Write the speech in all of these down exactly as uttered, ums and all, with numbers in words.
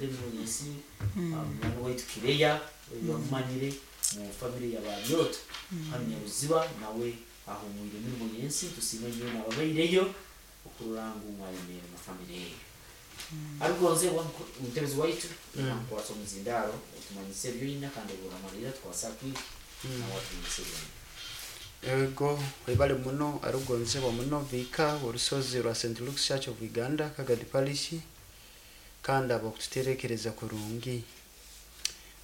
Agende emirimo yensi. Munywani waitu Kireya bamumanyire mu family ya Babyoto hanu Nyaruziba, nawe ahumwire emirimo yensi. Tusiime nyowe nababaireyo okurora ngu mwayemerera na family eyo. Arugonzebwa omutebezi waitu, nakukwasa omuzindaro otumanyise ebyoina, kandi oburamalira tukwasa kwiki nawe atumanyise ebyoina. Ego, webale muno, arugonzebwa muno viika orusozi rwa Saint Luke's Church of Uganda, Kagadi Parish, kandi abakututerekereza kurungi.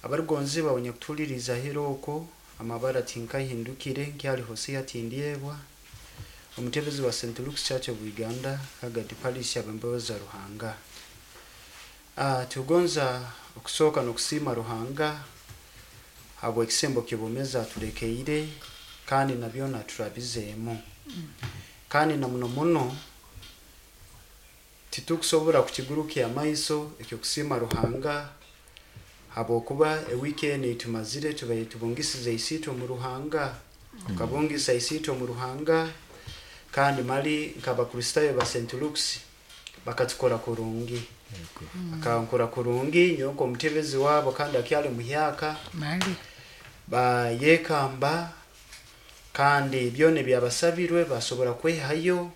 Abarugonzebwa abanyakutuhuliriza hero okwo, amabara tinkahindukire, nkyali Hosea Tindyebwa, omutebezi wa Saint Luke's Church of Uganda, Kagadi Parish, ab'embabazi za Ruhanga. Ah, tugonza okusooka n'okusiima Ruhanga habw'ekisembo ky'obwomeezi atulekeire, kandi na byona turabizeemu, kandi na muno muno titukusobora kukigurukya amaiso ekyokusiima Ruhanga, habwokuba ewiiki enu eitumazire tubaire tubungisize isiitwe omu Ruhanga, tukabungisa isiitwe omu Ruhanga. Kandi mali nk'Abakristaayo ba Saint Luke's bakatukora kurungi, bakankora kurungi nyowe nk'omutebezi waabo kandi akyali muhyaka. Mali. Bayekamba, kandi byona ebyabasabirwe basobora kwehayo,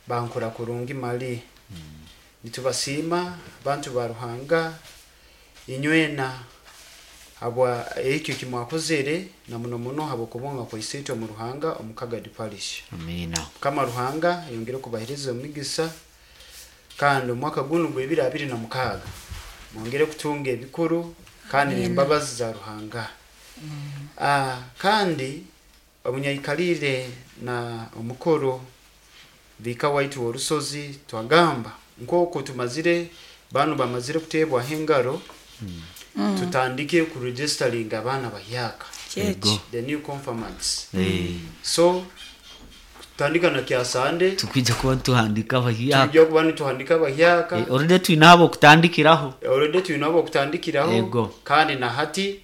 bankora kurungi. Mali nitubasiima bantu ba Ruhanga inywena habwa ekyo kimwakozere, na muno muno habwokubunga kwa isiitwe omu Ruhanga omu Kagadi Parish. Amiina. Mukama Ruhanga ayongere kubahereza omugisa, kandi omwaka gunu gw'ebiri abiri na mukaaga mwongere kutunga ebikuru kandi n'embabazi za Ruhanga. Ah, kandi obunyaikalire na omukuru viika waitu w'orusozi, twagamba nk'oku tumazire banu bamazire kuteebwaho engaro, tutandike kuregisteringa abaana bahyaka, Kyeki. the new confirmants. Eh, so tutandika na kyasande. Tukwija kuba nituhandika abahyaka. Tujja kuba nituhandika abahyaka. Eh, already twine abo okutandikiraho. Already twine abo okutandikiraho. Ego. Kandi na hati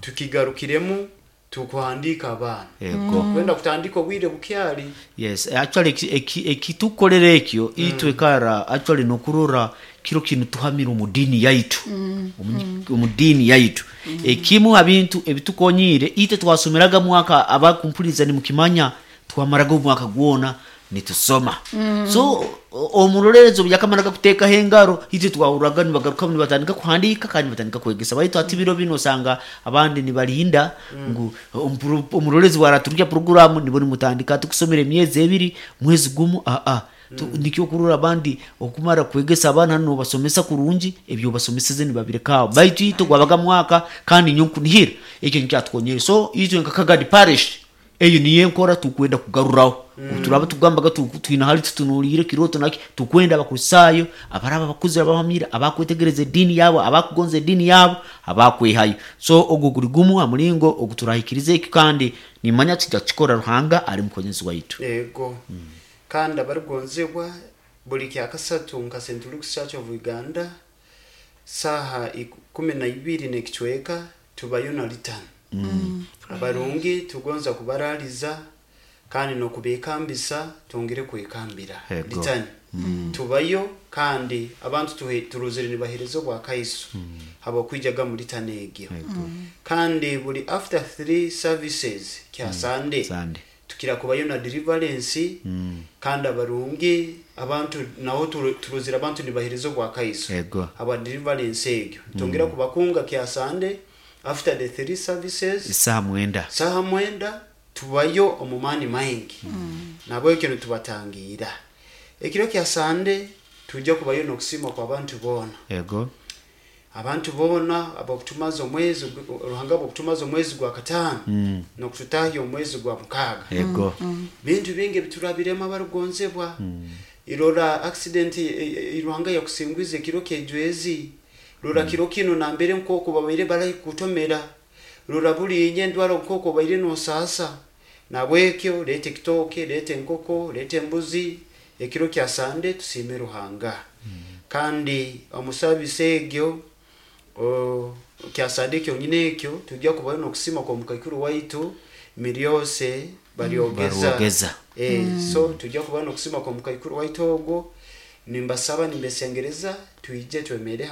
tukigarukiremu tukuhandika abaana. Ego. Kwenda kutandika obwire bukyali. Yes, actually ekitukolera ekyo itwe kara actually nokurora kiro kinu tuhamira omu dini yaitu, Omu- omu dini yaitu. Ekimu ha bintu ebitukonyire, itwe twasomeraga mwaka, abakumpuliriza nimukimanya, twamaraga omwaka gwona nitusoma. So o- omurolerezo byakamaraga kuteekaho engaro, itwe twahuraga nibagaruka nibatandika kuhandika kandi nibatandika kwegesa. Baitu ati biro bino osanga abandi nibalinda ngu ompuru- omurolezi waraturukya programu nibo nimutandika ati kusomera emyezi ebiri, mwezi gumu. Aa, Tu- nikyo kurora abandi okumara kwegesa abaana nobasomesa kurungi, ebyo basomeseze nibabirekaho. Baitu itwe gwabaga mwaka, kandi nyo nkunihira ekyo nikyatukonyere. So itwe nka Kagadi Parish eyo niyo enkora tukwenda kugaruraho. Turaba tugambaga tu- twina hali tutunuliire kiroto naki tukwenda Abakristaayo abaraba abakuzire, abamamire, abakwetegereza eddiini yabo, abakugonza eddiini yabo, abakwehayo. So ogwo guri gumu ha mulingo ogu turahikiriza ekyo, kandi nimanya tujja kukikora, Ruhanga ali mukonyezi waitu. Ego, kandi abarugonzebwa, buli kyakasatu nka Saint Luke's Church of Uganda, saha ikumi na ibiri n'ekicweka tubayo na litani. Abarungi tugonza kubaraliza kandi nokubekambisa twongere kwekambira. Ego. Litani tubayo, kandi abantu tuhe- turuzire nibahereza obwakaiso habwokwijaga mu litani egyo. Kandi buli after three services kya Sunday, Sunday. tukira kubayo na deliverance, kandi abarungi abantu naho turu- turuzire abantu nibahereza obwakaiso Ego. aba deliverance egyo. Tongera kubakunga kya Sunday after the three services. Isaha mwenda. Saha mwenda tubayo omu maani maingi. Nabwekyo nitubatangiira ekiro kya Sande, tujja kubayo n'okusiima kw'abantu boona. Ego. Abantu boona abakutumaza omwezi gu- Ruhanga bwokutumaza omwezi gwa kataano n'okututahya omwezi gwa mukaaga. Ego. Bintu bingi ebiturabiremu, abarugonzebwa. Irora accident, e- e- Ruhanga yakusingwiza ekiro kyejwezi. Rora kiro kino nambere nkoko babaire barahi kutomera. Rora bulinye endwara nkoko baire nosasa. Nabwekyo leeta ekitooke, leeta enkoko, leeta embuzi ekiro kya Sande, tusiime Ruhanga. Kandi omu service egyo o, kya Sande kyonyine ekyo tujja kubayo n'okusiima kwa mukaikuru waitu Miryose Baryogeza. Baryogeza. Eh, so tujja kuba n'okusiima kwa mukaikuru waitu ogwo. Nimbasaba, nimbesengereza twije twemere hamwe.